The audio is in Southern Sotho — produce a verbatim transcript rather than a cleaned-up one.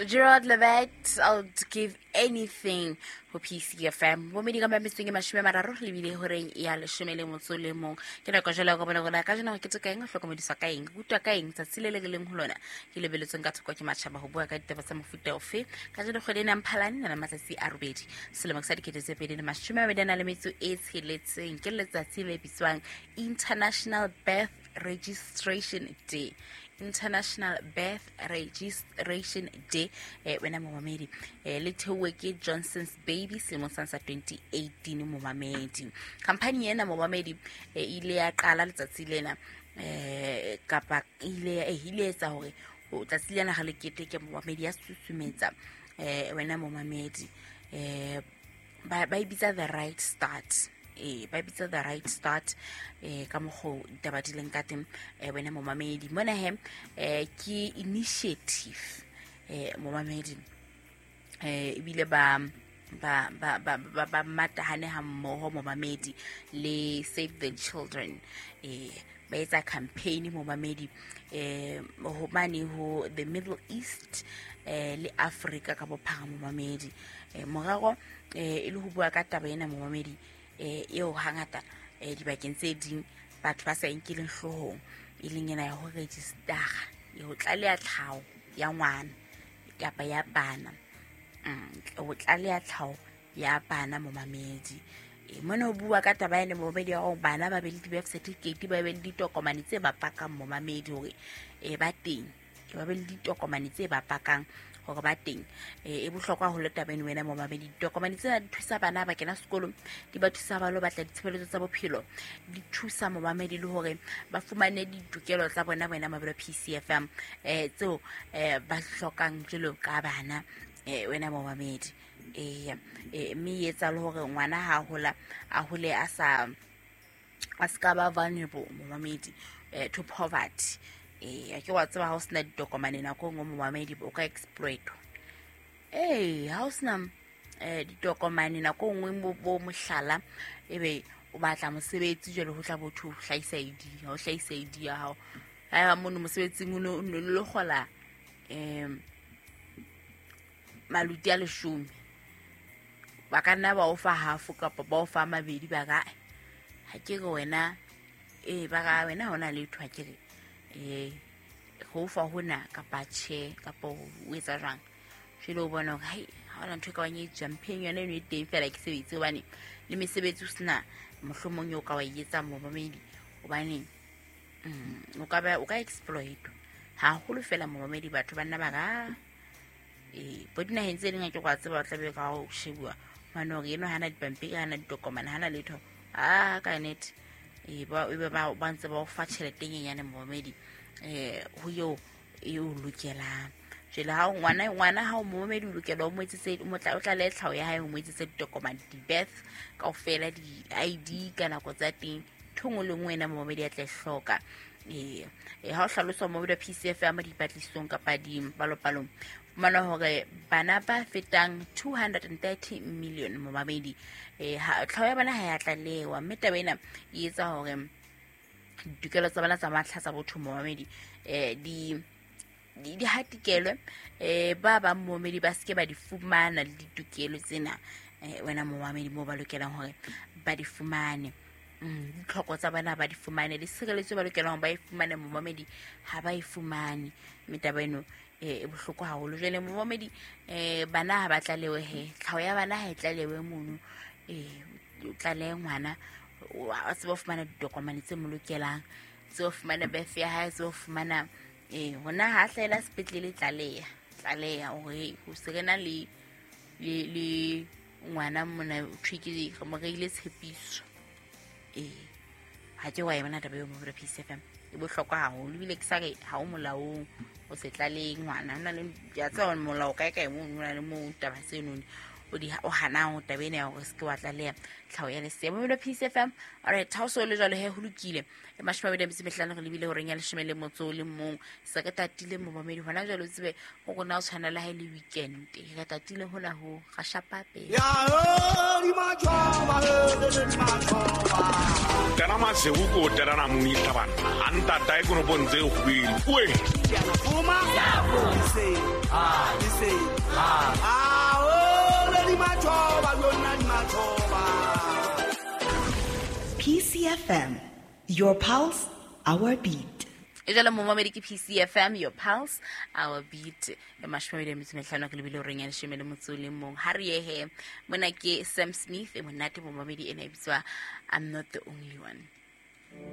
Gerard Levett, I'll give anything ho P C F M. Bomedi ka metsweng e mashome a mararo le bile horeng ya leshome le motso le mong. Ke nako jwale go bona gore ka jeno ke tsoka eng, hlokomediswa ka eng, kutwa ka eng tsatsi le le re leng ho lona. Ke lebeletsweng ka thoko ke matjhaba ho bua ka ditaba tsa mofuta ofe. Ka jeno kgwedi ena Mphalane na matsatsi a robedi. Selemo sa dikete tse pedi le mashome a mabedi a nang le metso e tsheletseng. Ke letsatsi le bitswang International Birth Registration Day. International Birth Registration Day. Eh, wena momamedi, eh, le theowe ke Johnson's Baby selemong sa twenty eighteen momamedi. Company ena momamedi, eh, ile ya qala letsatsi lena, eh, kapa ile, eh, ile etsa hore ho tsatsi lena ga le keteke momamedi ya susumetsa, eh, wena momamedi, eh, ba, ba e bitsa the right start. Eh, ba bitsa the right start, eh, ka mokgo ditaba di leng ka teng, eh, wena momamedi. Mona he, eh, ke initiative, eh, momamedi, eh, ebile ba, ba, ba, ba, ba, ba matahane ha mmoho momamedi le Save the Children. Eh, ba etsa campaign momamedi, eh, ho mane ho the Middle East, eh, le Africa ka bophara momamedi. Eh, morero, eh, e le ho bua ka taba ena momamedi, eh, eo hangata, eh, dibakeng tse ding batho ba sa e nkeleng hloohong, e leng ena ya ho registera, ya ho tlaleha tlhaho ya ngwana kapa ya bana. Mm, ho tlaleha tlhaho ya bana momamedi. Eh, mona ho bua ka taba ena momamedi ya hore bana ba be le di-birth certificate, ba be le ditokomane tse ba pakang momamedi hore, eh, ba teng. Ba be le ditokomane tse ba pakang hore ba teng. Eh, e bohlokwa haholo taba eno wena momamedi. Ditokomane tsena di thusa bana ba kena sekolong, di ba thusa ba lo batla ditshebeletso tsa bophelo, di thusa momamedi le hore ba fumane ditokelo tsa bona wena momamedi wa P C F M, eh, tseo, eh, ba hlokang jwalo ka bana, eh, wena momamedi. Eh, eh, mme e etsa le hore ngwana ha hola, a hole a sa, a ska ba vulnerable momamedi, eh, to poverty. Eh, ke wa tseba ha o sena ditokomane nako e nngwe momamedi o ka exploit-wa. Eh, ha o sena, eh, ditokomane nako e nngwe bo, bo mohlala, ebe o batla mosebetsi jwale ho tla botho ho hlahisa I D, ha o hlahisa I D ya hao. Haeba mono mosebetsing o no, o no lo kgola, eh, maluti a leshome, ba ka nna ba o fa half kapa ba o fa mabedi, ba ka, ha ke re wena, eh, ba ka wena ha ona letho, ha ke re, eh, ho fa hona kapa tjhe, kapa o etsa jwang. Jwale o bona hore, hai, ha hona ntho e ka bang e jumping yona eno e teng fela ke sebetse, hobane le mesebetsi o sena mohlomong eo ka wa e etsang momamedi, hobane, mm, o ka ba, o ka exploit-wa haholo fela momamedi. Batho ba nna ba ka, eh, bo dinaheng tse ding ha ke go a tseba, ba tla be ka o shebuwa hobane hore eno hana dipampiri, hana ditokomane, hana letho. Ah, ka nnete. Eh, ba, ebe ba, ba ntse ba o fa tjhelete e nyenyane momamedi, eh, ho eo e o lokelang. Jwale ha o ngwana, ngwana ha o momamedi o lokela o mo etsetse, o mo tla, o tlalehe tlhaho ya hae, o mo etsetse ditokomane, di-birth kaofela, di-I D ka nako tsa teng, ntho e nngwe le nngwe ena momamedi a tla e hloka. Eh, eh, ha o hlaloswa momamedi wa P C F M dipatlisisong kapa dipalopalong, fumana hore bana ba fetang two hundred and thirty million momamedi, eh, ha, tlhaho ya bana ha ya tlalewa, mme taba ena e etsa hore ditokelo tsa bana tsa matlha tsa botho momamedi, eh, di, di, di hatikelwe, eh, ba bang momamedi ba seke ba di fumana le ditokelo tsena, eh, wena momamedi moo ba lokelang hore ba di fumane. Mm, ditlhoko tsa bana ba di fumane, le tshireletso ba lokelang hore ba e fumane momamedi ha ba e fumane. Mme taba eno, eh, e bohloko haholo. Jwale momamedi, eh, bana ha ba tlalewe he, tlhaho ya bana ha e tlalewe mono, eh, o tlalehe ngwana, o a tsebe ho fumana ditokomane tse mo lokelang, tsebe ho fumana birth ya hae, tsebe ho fumana, eh, hona ha hlahela sepetlele, tlaleha, tlaleha hore ho se re na le, le, le ngwana mona, ho thwe ke re mo reile tshepiso. Eh, ha ke wa e bona taba eo mo P C F M, e bohlokwa haholo, ebile ke sa re ha o molaong o se tlalehe ngwana. Ho na le, ke a tseba hore molao kae kae mono, ho na le moo taba tseno o di o hanang taba ena ya hore se ke wa tlaleha tlhaho ya lesea. Momelo P C F M. Alright, ha o so le jwalo he ho lokile. E mashome a mabedi a metso e mehlano re lebile horeng ya leshome le motso o le mong. Se re tatile momamedi hona jwale o tsebe ho rona o tshwana le ha e le weekend. Re tatile hona ho ga shapa pele. Ya di machoba di machoba. Tana masewu ko tana muni tabana. Anta tai kono bontse go bile. Oe. Fuma. Se. Ah, se. Ah, oh, di machoba lona di machoba. P C F M, your pulse, our beat. E jalo momamedi ke P C F M, your pulse, our beat. E mashome a mabedi a metso e mehlano re lebile horeng ya leshome le motso o le mong. Ha re ye he, mona ke Sam Smith, e monate momamedi ena e bitswa I'm Not the Only One.